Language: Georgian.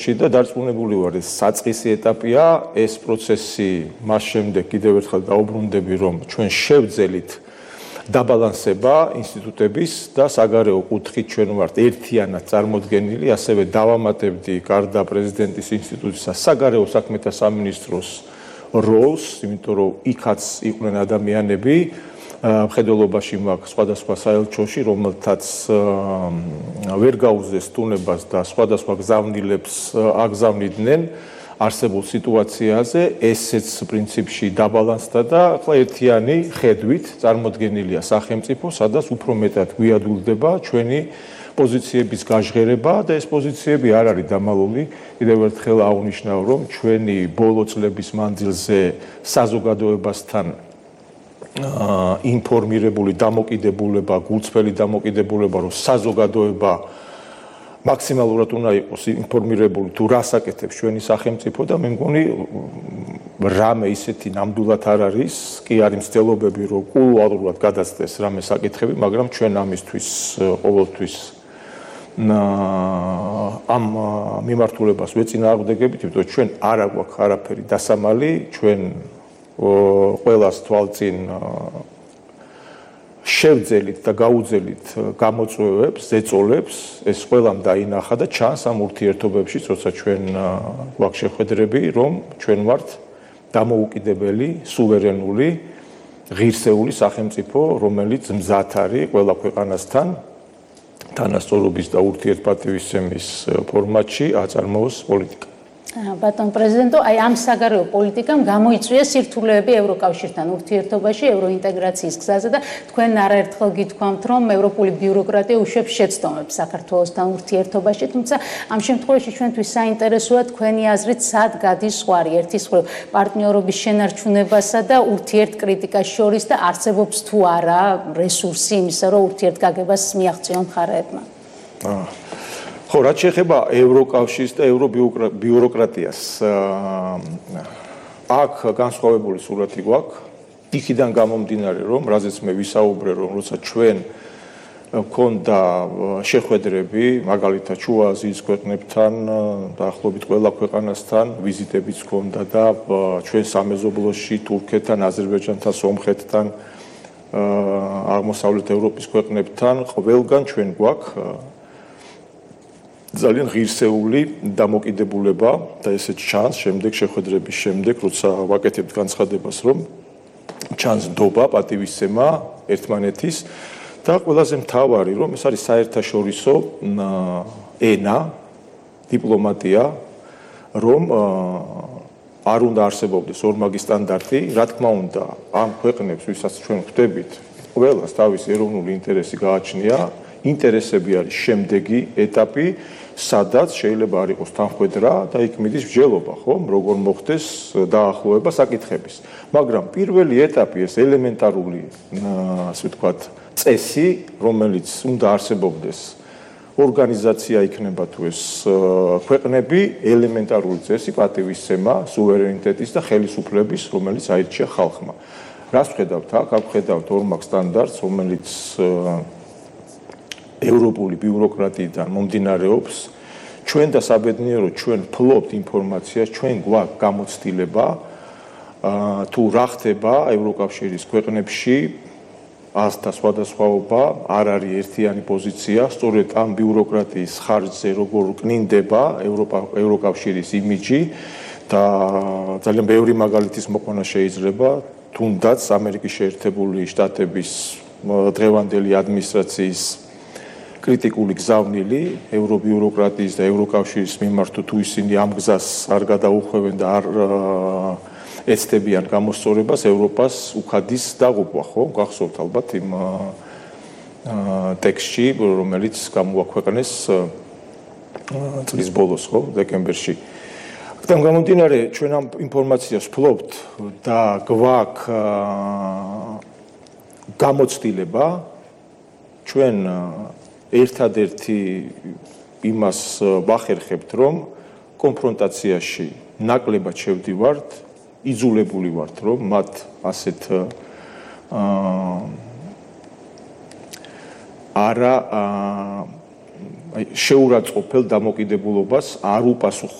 და დარწმუნებული ვარ, ეს საწყისი ეტაპია, ეს პროცესი მას შემდეგ კიდევ ერთხელ დაუბრუნდები, რომ ჩვენ შევძელით დაბალანსება ინსტიტუტების და საგარეო კუთხით ჩვენ ვართ ერთიანად წარმოდგენილი, ასევე დავამატებდი გარდა პრეზიდენტის ინსტიტუტისა საგარეო საქმეთა სამინისტროს როლს, იმიტომ რომ იქაც იყვნენ ადამიანები მხედველობაში მაქვს სხვადასხვა საელჩოში, რომელთაც ვერ გაუძლეს სტუნებას და სხვადასხვა გზავნილებს აგზავნიდნენ არსებულ სიტუაციაზე, ესეც პრინციპში დაბალანსდა და ახლა ერთიანი ხედვით წარმოდგენილია სახელმწიფო, სადაც უფრო მეტად გვიადვილდება ჩვენი პოზიციების გაჟღერება და ეს პოზიციები არ არის დამალული. კიდევ ერთხელ აღვნიშნავ, რომ ჩვენი ბოლო წლების მანძილზე საზოგადოებასთან ინფორმირებული დამოკიდებულება, გულწრფელი დამოკიდებულება, რომ საზოგადოება მაქსიმალურად უნდა იყოს ინფორმირებული თუ რას აკეთებს ჩვენი სახელმწიფო და მე მგონი რამე ისეთი ნამდვილად არ არის, კი არის მცდელობები, რომ კულუარულად გადაცდეს რამე საკითხები, მაგრამ ჩვენ ამისთვის ყოველთვის ამ მიმართულებას ვეწინააღმდეგებით, იმიტომ ჩვენ არ აგვაქვს არაფერი დასამალი, ჩვენ ყველას თვალწინ შევძელით და გაუძელით გამოწვევებს, ზეწოლებს, ეს ყველამ დაინახა და ჩანს ამ ურთიერთობებში, როცა ჩვენ გვაქვს შეხვედრები, რომ ჩვენ ვართ დამოუკიდებელი, სუვერენული, ღირსეული სახელმწიფო, რომელიც მზად არის ყველა ქვეყანასთან თანასწორობის და ურთიერთპატივისცემის ფორმატში აწარმოოს პოლიტიკა. ბატონ პრეზიდენტო, აი ამ საგარეო პოლიტიკამ გამოიწვია სირთულეები ევროკავშირთან ურთიერთობაში, ევროინტეგრაციის გზაზე და თქვენ არაერთხელ გითქვამთ, რომ ევროპული ბიუროკრატია უშვებს შეცდომებს საქართველოსთან ურთიერთობაში, თუმცა ამ შემთხვევაში ჩვენთვის საინტერესოა თქვენი აზრით, სად გადის ზღვარი ერთის მხრივ პარტნიორობის შენარჩუნებასა და ურთიერთკრიტიკას შორის და არსებობს თუ არა რესურსი იმისა, რომ ურთიერთგაგებას მიაღწიონ მხარეებმა. ხო, რაც შეეხება ევროკავშირს და ევრობიუროკრატიას, აქ განსხვავებული სურათი გვაქვს. იქიდან გამომდინარე, რომ რაზეც მე ვისაუბრე, რომ როცა ჩვენ გქონდა შეხვედრები, მაგალითად შუა აზიის ქვეყნებთან, დაახლოებით ყველა ქვეყანასთან, ვიზიტებიც გქონდა და ჩვენ სამეზობლოში თურქეთთან, აზერბაიჯანთან, სომხეთთან, აღმოსავლეთ ევროპის ქვეყნებთან, ყველგან ჩვენ გვაქვს ძალიან ღირსეული დამოკიდებულება და ესეც ჩანს შემდეგ შეხვედრების შემდეგ, როცა ვაკეთებთ განცხადებას, რომ ჩანს ნდობა, პატივისცემა ერთმანეთის და ყველაზე მთავარი, რომ ეს არის საერთაშორისო ენა, დიპლომატია, რომ არ უნდა არსებობდეს ორმაგი სტანდარტი, რა თქმა უნდა, ამ ქვეყნებს, ვისაც ჩვენ ხვდებით, ყველას თავისი ეროვნული ინტერესი გააჩნია, ინტერესები არის შემდეგი ეტაპი, სადაც შეიძლება არ იყოს თანხმედრა და იქ მიდის მსჯელობა, ხომ, როგორ მოხდეს დაახლოება საკითხების. მაგრამ პირველი ეტაპი ეს ელემენტარული, ასე ვთქვათ, წესი, რომელიც უნდა არსებობდეს ორგანიზაცია იქნება თუ ეს ქვეყნები, ელემენტარული წესი, პატივისცემა, სუვერენიტეტის და ხელისუფლების, რომელიც აირჩია ხალხმა. რას ვხედავთ აქ? აქ ვხედავთ ორმაგ სტანდარტს, რომელიც ევროპული ბიუროკრატიიდან მომდინარეობს, ჩვენ და საბედნიეროდ ჩვენ ფლობთ ინფორმაციას, ჩვენ გვაქვს გამოცდილება თუ რა ხდება ევროკავშირის ქვეყნებში, ასთა სხვადასხვაობა, არ არის ერთიანი პოზიცია, სწორედ ამ ბიუროკრატიის ხარჯზე როგორ კნინდება ევროკავშირის იმიჯი და ძალიან ბევრი მაგალითის მოყვანა შეიძლება, თუნდაც ამერიკის შეერთებული შტატების დღევანდელი ადმინისტრაციის კრიტიკული გზავნილი ევრობიუროკრატიის და ევროკავშირის მიმართ თუ ისინი ამ გზას არ გადაუხვევენ და არ ეცდებიან გამოსწორებას, ევროპას უხადის დაღუპვა, ხო? გახსოვთ ალბათ იმ ტექსტში, რომელიც გამოაქვეყნეს წლის ბოლოს, ხო, დეკემბერში. აქედან გამომდინარე, ჩვენ ამ ინფორმაციას ვფლობთ და გვაქვს გამოცდილება ჩვენ ერთადერთი იმას ვახერხებთ, რომ კონფრონტაციაში ნაკლებად შევდივართ, იძულებული ვართ, რომ მათ ასეთ არა შეურაცხყოფელ დამოკიდებულობას არ უპასუხო